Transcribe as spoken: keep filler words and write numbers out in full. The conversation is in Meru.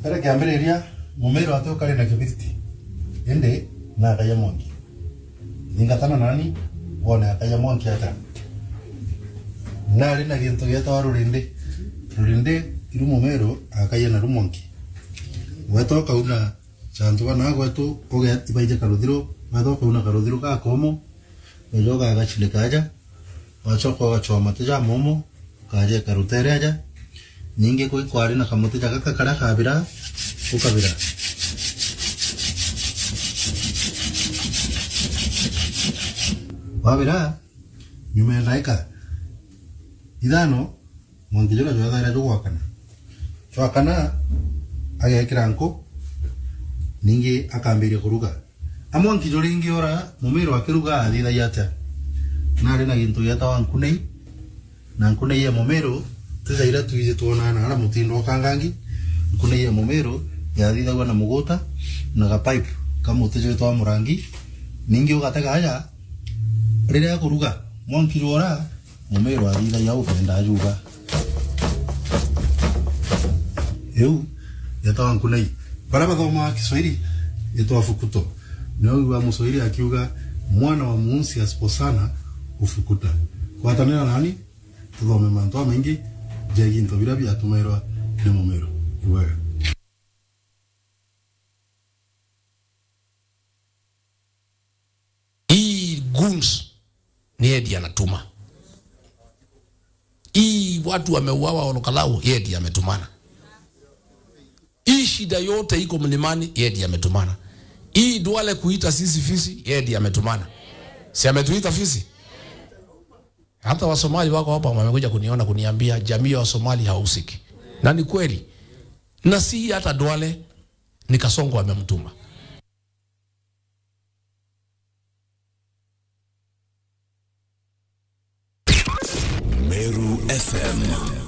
Kare kiambiriria, Mumiru ati ukari na kibiriti, indi na akaia mwanki. Thingatana nani, wone akaia mwanki ata. Nari na gintu gietawa rurindi. Rurindi iru Mumiru akaia naru mwanki. Gweta ukauna chantu bana gwetu, uge ibaije karuthiro, gweta ukauna karuthiro gakomo, ujoka agachile kaja, wachoka ugachwa mate ja momo, ukaja ikarutere aja. Ningi kwi kwari na kamuti ja gaka karia kabira, ukabira. Wabira, nyuma ya ndaika ithano, mwanki juria jwethaira jugwakana. Jwakana, agekira nku, ningi akambiria kuruga. A mwanki juringi ora Mumiru akiruga athithagia atia? Nari na gintu gietawa nkunei, na nkunei ya Mumiru, ti ja iria twiji twonaa na aria mutindo ukangangi. Nkunei ya Mumiru yathithagua na muguta na ga pipe ka muti jwetwa murangi. Ningi ugatega aja, riria akuruga, mwanki jwora, Mumiru athithagia ukenda ajuga. Iu yetawa nkunei. Baria bathomaa Kiswahili, yetwa fukuto. Nio wigua Muswahili akiuga, "Mwana wa muunsi asiposana ufukuta." Gwatanira nani, tuthome mantu jamaingi jegie into biria biatumairwa ni Mumiru. Ibwega. Hii goons ni Edi anatuma. Hii watu wameuawa Olokalau, yeye ndiye ametumana. Hii shida yote iko mlimani, yeye ndiye ametumana. Hii Duale kuita sisi fisi, yeye ndiye ametumana. Si ametuita fisi? Hata Wasomali wako hapa wamekuja kuniona, kuniambia jamii ya Wasomali hahusiki. Na ni kweli. Na si hata Duale, ni Kasongo amemtuma. Meru F M.